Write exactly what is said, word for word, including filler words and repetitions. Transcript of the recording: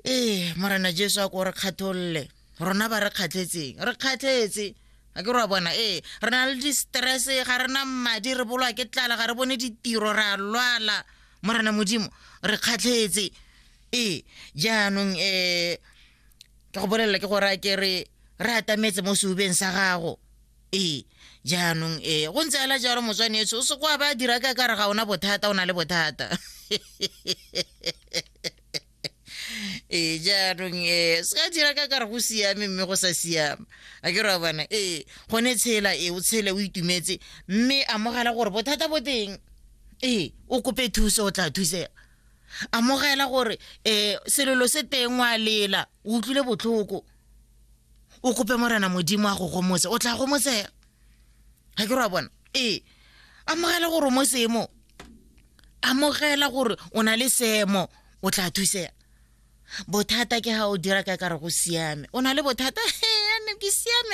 Ee, Morena Jesu a ko re kgatholle rona ba re kgatlhetseng, re kgatlhetse, a ke re wa bona. Ee, re na le di-stress, ga re na madi, re bolwa ke tlala, ga re bone ditiro, re a lwala. Morena Modimo, re kgatlhetse. Ee, jaanong um ke go bolelela ke gore a ke re re atametse mo seubeng sa gago. Ee, jaanong ee, go ntse ala jalo, motswanetso, o se kwa ba dira ka kare ga ona bothata, o na le bothata. Ee, jaanong ee, se ka dira ka kare go siame mme go sa siama, a ke re wa bona. Ee, gone tshela, ee, o tshele o itumetse, mme amogela gore bothata bo teng. Ee, o kope thuso, o tla thusega. Amogela gore um selelo se teng, wa lela, o utlwile botlhoko, o kope Morena Modimo a go gomotse, o tla gomotsega, ga ke re wa bona. Ee, amogela gore o mo seemo, amogela gore o na le seemo, o tla thusega. Bothata ke ga o dira ka kare go siame, o na le bothata, ane ke siame.